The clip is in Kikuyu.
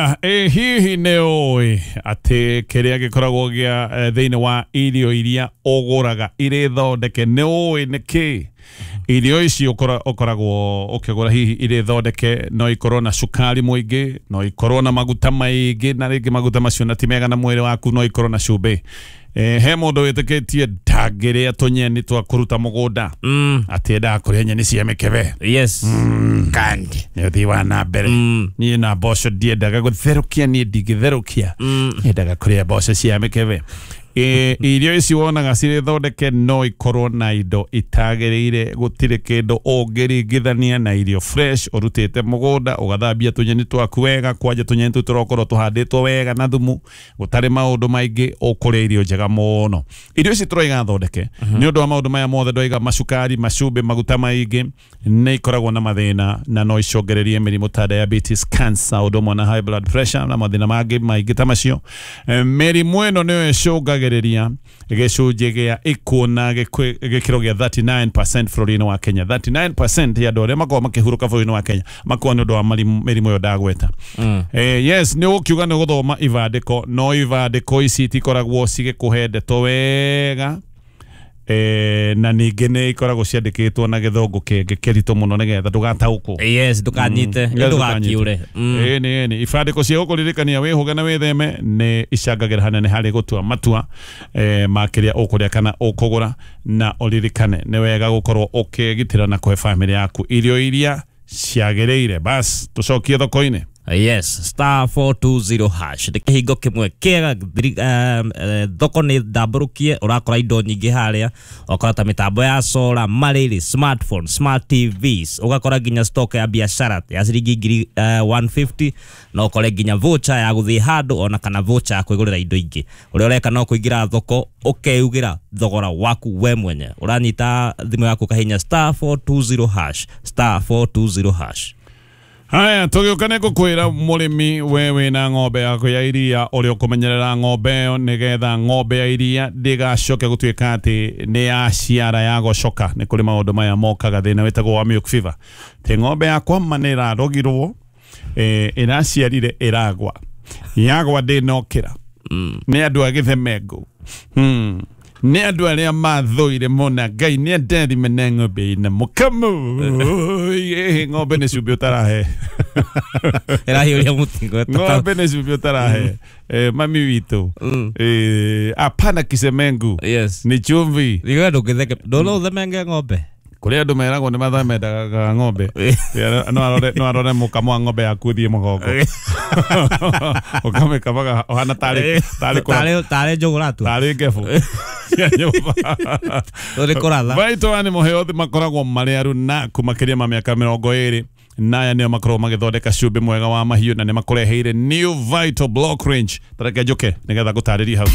Haya, hihi nĩ ũĩ atĩ kĩrĩa gĩkoragwo gĩa thĩinĩ wa irio iria ũgũraga irĩ thondeke, nĩ ũĩ nĩ kĩ? Irio ici ũkoragwo ũkĩgũra hihi irĩ thondeke no ikorwo na cukari mũingĩ, no ikorwo na maguta maingĩ, na rĩngĩ maguta macio na ti mega na mwĩrĩ waku, no ikorwo na cumbĩ. He mũndũ wĩtĩkĩtie ndangĩrĩa tũnyeni twa kũruta mũgũnda, atĩ endaga kũrĩa nyeni cia mĩkebe. Kandi. Nĩ ũthii wa na mbere. Niĩ na mboco ndiendaga gũtherũkia, niĩ ndingĩtherũkia, nyendaga kũrĩa mboco cia mĩkebe. Irio ici wonaga cirĩ thondeke no ikorwo na indo itagĩrĩire. Gũtirĩ kĩndũ ũngĩringithania na irio fresh ũrutĩte mũgũnda, ũgathambia tũnyeni twaku wega, kwanja tũnyeni tũu tũrokorwo tũhandĩtwo wega na thumu, gũtarĩ maũndũ maingĩ, ũkũrĩa irio njega mũno. Irio ici tũroiga thondeke nĩ ũndũ wa maũndũ maya mothe ndoiga, macukari, macumbĩ, maguta maingĩ, nĩ ikoragwo na mathĩna na no icongererie mĩrimũ ta diabetes, cancer, ũndũ ũmwe na high blood pressure na mathĩna mangĩ maingĩ ta macio. Mĩrimũ ĩno nĩyo ĩcũngagĩrĩria gĩcunjĩ gĩa ikuũ na gĩkĩro gĩa 39% bũrũri-inĩ wa Kenya. 39% ya andũ arĩa makoragwo makĩhurũka bũrũri-inĩ wa Kenya makoragwo nĩ ũndũ wa mĩrimũ ĩyo ndagweta. Yes, nĩ ũgũkiuga nĩ gũthoma ibandĩko, no ibandĩko ici itikoragwo cigĩkũhe ndeto wega, na ningĩ nĩ ikoragwo ciandĩkĩtwo na gĩthũngũ kĩngĩ kĩritũ mũno nĩgetha ndũgataũkwo. Yes, ndũkanyite. Nĩgetha. Ndũgakiũre. Ĩni ĩni ibandĩko cia gũkũririkania wĩhũge na wĩtheme nĩ icangagĩra hanene harĩ gũtua matua ma kĩrĩa ũkũrĩa kana ũkũgũra, na ũririkane nĩ wega gũkorwo ũkĩgitĩra na kũhe bamĩrĩ yaku irio iria ciagĩrĩire. Bas, tũcokie thoko-inĩ. Yes, *420# nĩ kĩhingo kĩmwe kĩega. Thoko nĩ ndambũrũkie, ũrakora indo nyingĩ harĩa, ũgakora ta mĩtambo ya solar, marĩrĩ, smartphone, smart TVs, ũgakora nginya stock ya biashara ya ciringi ngiri 150, no ũkore nginya voucher ya gũthiĩ handũ ona kana voucher ya kwĩgũrĩra indo ingĩ. Ũrĩa ũreka no kũingĩra thoko ũkeugĩra thogora waku we mwenye. Ũranyita thimũ yaku ũkahinya *420#, *420#. Haya, tũgĩũka nĩ ngũkwĩra mũrĩmi we wĩna ng'ombe yaku ya iria ũrĩa ũkũmenyerera ng'ombe ĩyo nĩgetha ng'ombe ya iria ndĩgacoke gũtuĩka atĩ nĩ yaciara yagocoka. Nĩ kũrĩ maũndũ maya mokaga, thĩna wĩtagwo wa milk fever, tĩ ng'ombe yakwa ma nĩ ĩrarogirwo, ĩraciarire ĩragwa, yagwa ndĩnokĩra. Nĩ andũ a gĩthemengũ, nĩ andũ arĩa mathũire mũna Ngai nĩ andathime na ng'ombe ĩna mũkamo. Ĩĩ, ng'ombe nĩ cumbĩ ũtarahe. Ĩrahiũria mũtingo. Ng'ombe nĩ cumbĩ ũtarahe. Mami witũ, hapana kisemengu, ni chumvi. Riga ndũngĩtheke, ndona ũthemenge ng'ombe. Kũrĩ andũ meragwo nĩ mathamendaga ng'ombe. No arore mũkamo wa ng'ombe yaku ũthiĩ mũgongo, ũkamĩkamaga ũhana tarĩ tarĩ njũgũra tu. Tarĩ ngebũ cia nyũmba. Tũrĩ kũratha. Vital Animal Health makoragwo marĩ arunaku makĩria ma mĩaka 20, naya nĩo makoragwo magĩthondeka cumbĩ mwega wa mahiũ na nĩ makũreheire New Vital Block Range. Tareke njũke nĩgetha ngũtarĩrie hau.